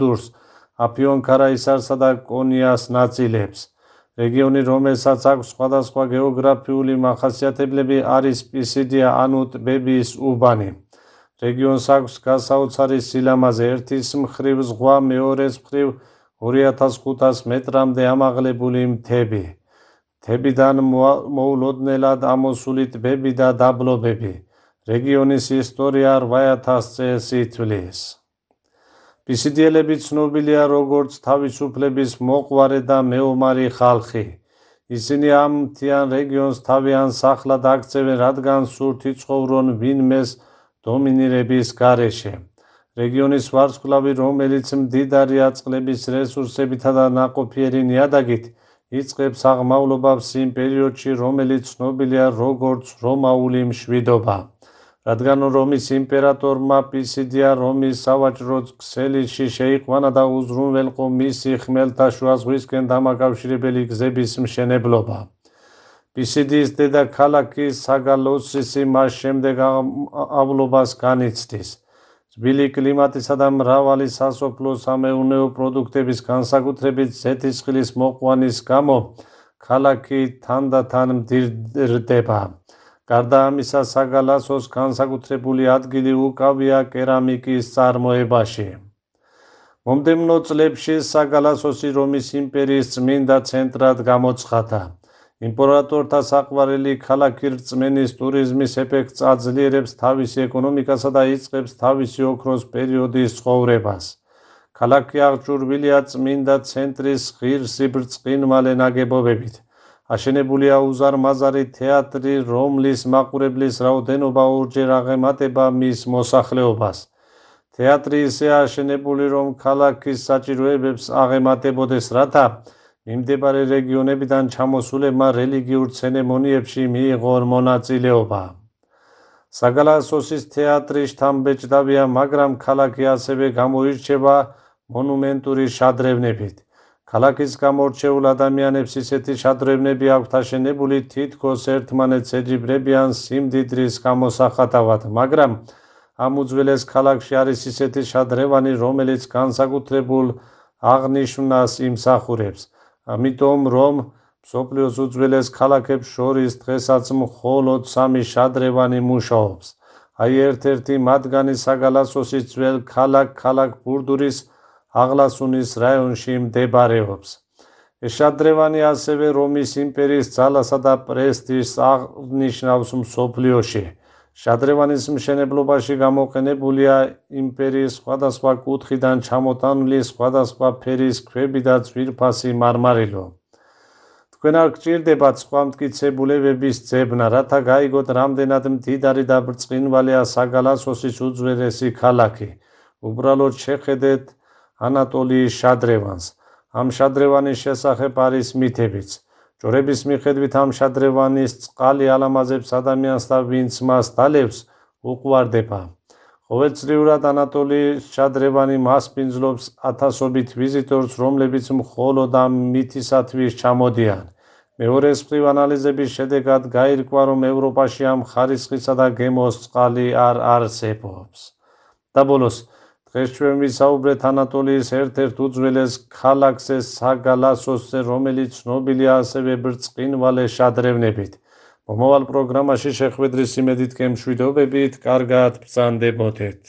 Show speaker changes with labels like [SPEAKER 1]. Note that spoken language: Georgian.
[SPEAKER 1] დურს, აფიონ-ქარაისარსა და კონიას ნაწილებს. რეგიონი, რომელსაც აქვს სხვადასხვა გეოგრაფიული მახასიათებლები, არის პისიდია ანუ ტბების უბანი. რეგიონს აქვს გასაოცარი სილამაზე, ერთის მხრივ ზღვა, მეორეს მხრივ 2500 მეტრამდე ამაღლებული მთები. მთებიდან მოულოდნელად ამოსული ტბები და დაბლობები. რეგიონის ისტორია 8000 წელს ითვლის. პისიდიელები ცნობილია როგორც თავისუფლების მოყვარე და მეომარი ხალხი. ისინი ამ მთიან რეგიონს თავიანთ სახლად აქცევენ, რადგან სურთ იცხოვრონ ვინმეს დომინირების გარეშე. რეგიონის ვარსკვლავი, რომელიც მდიდარია წყლების რესურსებითა და ნაყოფიერი ნიადაგით, იწყებს აღმავლობას იმ პერიოდში, რომელიც ცნობილია როგორც რომაული მშვიდობა. რადგან რომის იმპერატორმა პისიდია რომის სავაჭრო ქსელში შეიყვანა და უზრუნველყო მისი ხმელთაშუა ზღვისკენ დამაკავშირებელი გზების მშენებლობა. პისიდიის დედაქალაქი საგალოსისი მას შემდეგ ავლობას განიცდის. ძვილი კლიმატისა და მრავალი სასოფლო-სამეურნეო პროდუქტების, განსაკუთრებით ზეთისხილის მოყვანის გამო, ქალაქი თანდათან მდიდრდება. გარდა ამისა, საგალასოს განსაკუთრებული ადგილი უკავია კერამიკის წარმოებაში. მომდევნო წლებში საგალასოსი რომის იმპერიის წმინდა ცენტრად გამოცხადდა. იმპერატორთა საყვარელი ქალაქი რწმენის ტურიზმის ეფექტს აძლიერებს თავისი ეკონომიკასა და იწყებს თავისი ოქროს პერიოდის ცხოვრებას. ქალაქი აღჭურვილია წმინდა ცენტრის ღირსი ბრწყინვალე ნაგებობებით. აშენებულია უზარმაზარი თეატრი, რომლის მაყურებლის რაოდენობა ორჯერ აღემატება მის მოსახლეობას. თეატრი ისეა აშენებული, რომ ქალაქის საჭიროებებს აღემატებოდეს, რათა მიმდებარე რეგიონებიდან ჩამოსულებმა რელიგიურ ცერემონიებში მიიღონ მონაწილეობა. საგალასოსის თეატრი შთამბეჭდავია, მაგრამ ქალაქი ასევე გამოირჩევა მონუმენტური შადრევნებით. ქალაქის გამორჩეულ ადამიანებს ისეთი შადრევნები აქვთ აშენებული, თითქოს ერთმანეთს ეჯიბრებიან სიმდიდრის გამოსახატავად, მაგრამ ამ უძველეს ქალაქში არის ისეთი შადრევანი, რომელიც განსაკუთრებულ აღნიშვნას იმსახურებს. ამიტომ, რომ მსოფლიოს უძველეს ქალაქებს შორის დღესაც მხოლოდ 3 შადრევანი მუშაობს. აი ერთ-ერთი მათგანი საგალასოსის ძველ ქალაქ ბურდურის აღლასუნის რაიონში მდებარეობს. ეს შადრევანი ასევე რომის იმპერიის ძალასა და პრესტიჟს აღნიშნავს მსოფლიოში. შადრევანის მშენებლობაში გამოყენებულია იმპერიის სხვადასხვა კუთხიდან ჩამოტანილი სხვადასხვა ფერის ქვები და ძვირფასი მარმარილო. თქვენ არ გჭირდებათ სხვა მტკიცებულებების ძებნა, რათა გაიგოთ რამდენად მდიდარი და ბრწყინვალეა საგალასოსის უძველესი ქალაქი. უბრალოდ შეხედეთ ანატოლიის შადრევანს. ამ შადრევანის შესახებ არის მითებიც. ჯორების მიხედვით ამ შადრევანის წყალი ალამაზებს ადამიანს და ვინც მას დალევს, უყვარდება. ყოველწლიურად ანატოლიის შადრევანი მასპინძლობს ათასობით ვიზიტორს, რომლებიც მხოლოდ ამ მითისათვის ჩამოდიან. მეორეს მხრივ ანალიზების შედეგად გაირკვა, რომ ევროპაში ამ ხარისხისა და გემოს წყალი არ არსებობს. და ბოლოს, დღეს ჩვენ ვისაუბრეთ ანატოლიის ერთ-ერთ უძველეს ქალაქზე საგალასოსზე, რომელიც ცნობილია ასევე ბრწყინვალე შადრევნებით. მომავალ პროგრამაში შეხვედრის იმედით გემშვიდობებით, კარგად ბრძანდებოდეთ.